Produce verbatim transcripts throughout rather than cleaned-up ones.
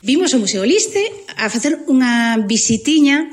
Vimos o Museo Liste a facer unha visitiña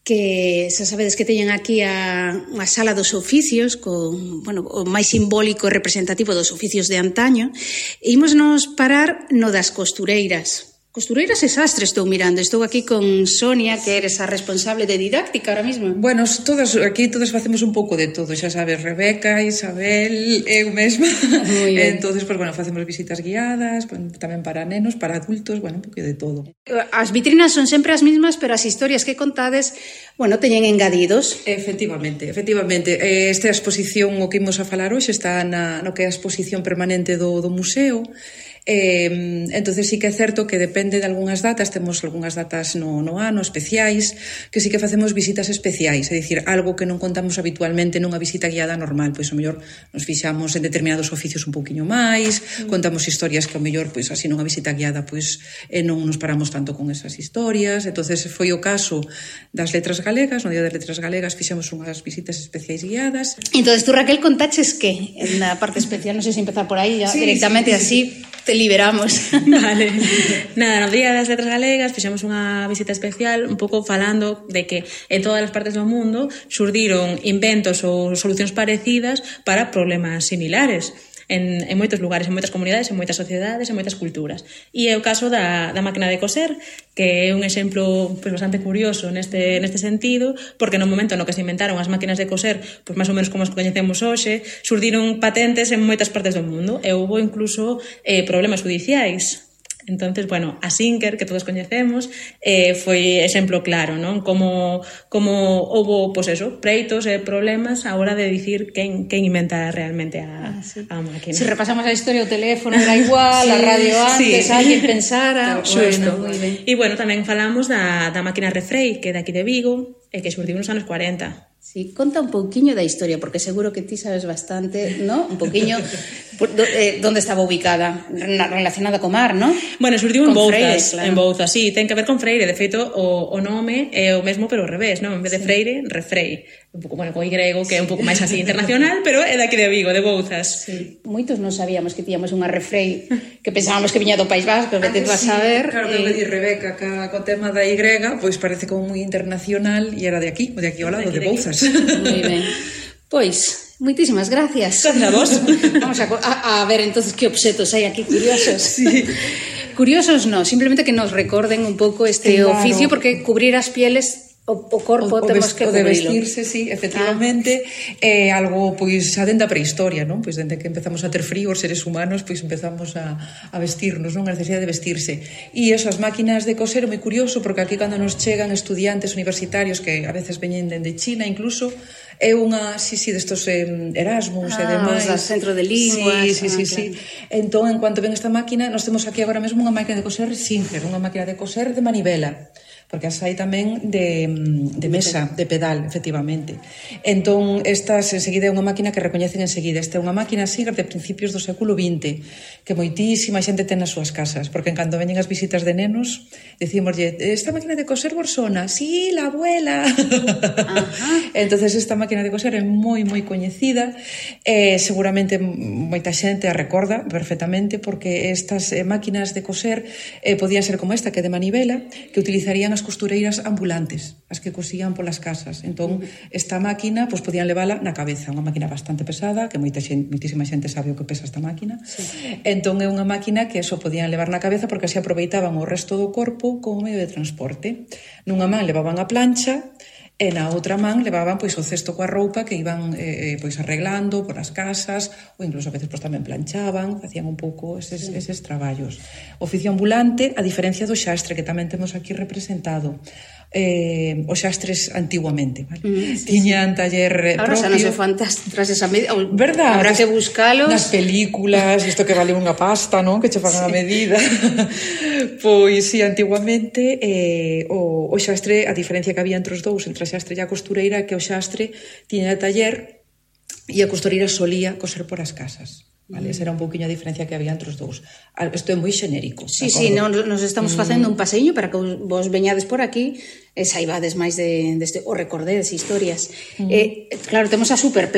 que xa sabedes que teñen aquí a, a sala dos oficios con, bueno, o máis simbólico e representativo dos oficios de antaño, e imos nos parar no das costureiras. Costureiras e sastres estou mirando. Estou aquí con Sonia, que eres a responsable de didáctica ahora mismo. Bueno, todas, aquí todas facemos un pouco de todo, xa sabes, Rebeca, Isabel, eu mesma. Muy ben. Entonces, pues, bueno, facemos visitas guiadas, tamén para nenos, para adultos, bueno, un pouco de todo. As vitrinas son sempre as mismas, pero as historias que contades, bueno, teñen engadidos. Efectivamente, efectivamente. Esta exposición, o que imos a falar hoxe, está na, no que é a exposición permanente do, do museo. Eh, entonces sí que é certo que depende de algunhas datas, temos algunhas datas no, no ano especiais, que sí que facemos visitas especiais, é dicir, algo que non contamos habitualmente nunha visita guiada normal, pois o mellor nos fixamos en determinados oficios un pouquiño máis, mm. contamos historias que o mellor, pois así nunha visita guiada, pois eh, non nos paramos tanto con esas historias. Entonces foi o caso das letras galegas, no Día das Letras Galegas fixemos unhas visitas especiais guiadas. Entonces tú, Raquel, contaches que en a parte especial, non sei se empezar por aí ya, sí, directamente, sí, sí, así te liberamos. Vale. Nada, no Día das Letras Galegas fixemos unha visita especial un pouco falando de que en todas as partes do mundo xurdiron inventos ou solucións parecidas para problemas similares. En, en moitos lugares, en moitas comunidades, en moitas sociedades, en moitas culturas. E é o caso da, da máquina de coser, que é un exemplo pues, bastante curioso neste, neste sentido, porque no momento no que se inventaron as máquinas de coser, pues, máis ou menos como as coñecemos hoxe, surdiron patentes en moitas partes do mundo, e houve incluso eh, problemas judiciais. Entonces, bueno, a Singer, que todos coñecemos, eh, foi exemplo claro, non? Como, como houve, pois pues eso, preitos e problemas a hora de dicir quen, quen inventa realmente a, ah, sí. a máquina. Se si repasamos a historia, o teléfono era igual, sí, a radio antes, sí. alguén pensara... Xusto. Bueno, e, bueno, tamén falamos da, da máquina Refrei, que é daqui de Vigo, e que xurdiu nos anos cuarenta. Sí, conta un pouquiño da historia, porque seguro que ti sabes bastante, ¿no? Un pouquiño eh, donde estaba ubicada, relacionada co mar, ¿no? Bueno, xurdiu en Bouzas, claro. en Bouzas, sí, ten que ver con Freire, de feito o, o nome é o mesmo pero ao revés, ¿no? En vez de sí. Freire, Refrei. Un pouco, bueno, co Y, que é un pouco máis así internacional, pero é daqui de Vigo, de Bouzas. Sí. Moitos non sabíamos que tíamos unha Refrei, que pensábamos que viña do País Vasco, que te vas a ver. Claro, que me di Rebeca, que co tema da Y, pois parece como moi internacional, e era de aquí, de aquí ao lado, de, de Bouzas. Moi ben. Pois, moitísimas gracias. Gracias a vos. Vamos a, a, a ver entonces que obxetos hai aquí curiosos. Sí. Curiosos no, simplemente que nos recorden un pouco este claro. oficio, porque cubrir as pieles o, o corpo o, temos que cubrirlo. O de vestirse, sí, efectivamente, ah. é eh, algo, pois, xa dende a prehistoria, non? Pois dende que empezamos a ter frío os seres humanos, pois empezamos a, a vestirnos, non? A necesidade de vestirse. E esas máquinas de coser é moi curioso, porque aquí cando nos chegan estudiantes universitarios que a veces veñen dende China incluso, é unha, sí, sí, destos eh, Erasmus ah, e demais. Ah, centro de linguas. Sí, sí, ah, sí, claro. sí. Entón, en cuanto ven esta máquina, nós temos aquí agora mesmo unha máquina de coser Singer, unha máquina de coser de manivela, porque as hai tamén de, de mesa, de pedal, efectivamente. Entón, estas, enseguida, é unha máquina que recoñecen enseguida. Esta é unha máquina Singer de principios do século vinte, que moitísima xente ten nas súas casas, porque cando veñen as visitas de nenos, decímoslle, esta máquina de coser Borsona, sí, la abuela. Entonces, esta máquina de coser é moi, moi coñecida, eh, seguramente moita xente a recorda perfectamente, porque estas eh, máquinas de coser eh, podían ser como esta, que é de manivela, que utilizarían as costureiras ambulantes, as que cosían polas casas. Entón, esta máquina, pois podían levala na cabeza, unha máquina bastante pesada, que moita xente, moitísima xente sabe o que pesa esta máquina. Sí. Entón, é unha máquina que eso podían levar na cabeza porque así aproveitaban o resto do corpo como medio de transporte. Nunha man levaban a plancha, e na outra man levaban pois o cesto coa roupa que iban eh, pois arreglando por as casas, ou incluso a veces pois tamén planchaban, facían un pouco eses, sí. eses traballos. Oficio ambulante, a diferencia do xastre, que tamén temos aquí representado. Eh, os xastres antiguamente, vale? Mm, sí, sí. Tiñan taller ahora propio. Ahora xa non se fan trases a medida, verdad? Habrá que buscalos. Nas películas, isto que vale unha pasta, non? Que che fan sí. a medida. Pois, si, sí, antiguamente eh, o, o xastre, a diferencia que había entre os dous, entre a xastre e a costureira, que o xastre tiña taller e a costureira solía coser por as casas. Vale, esa era un pouquiño a diferencia que había entre os dous. Isto é moi xenérico. Sí, sí, non, nos estamos facendo un paseiño para que vos veñades por aquí e saibades máis de, deste, o recordedes historias. Mm. Eh, claro, temos a super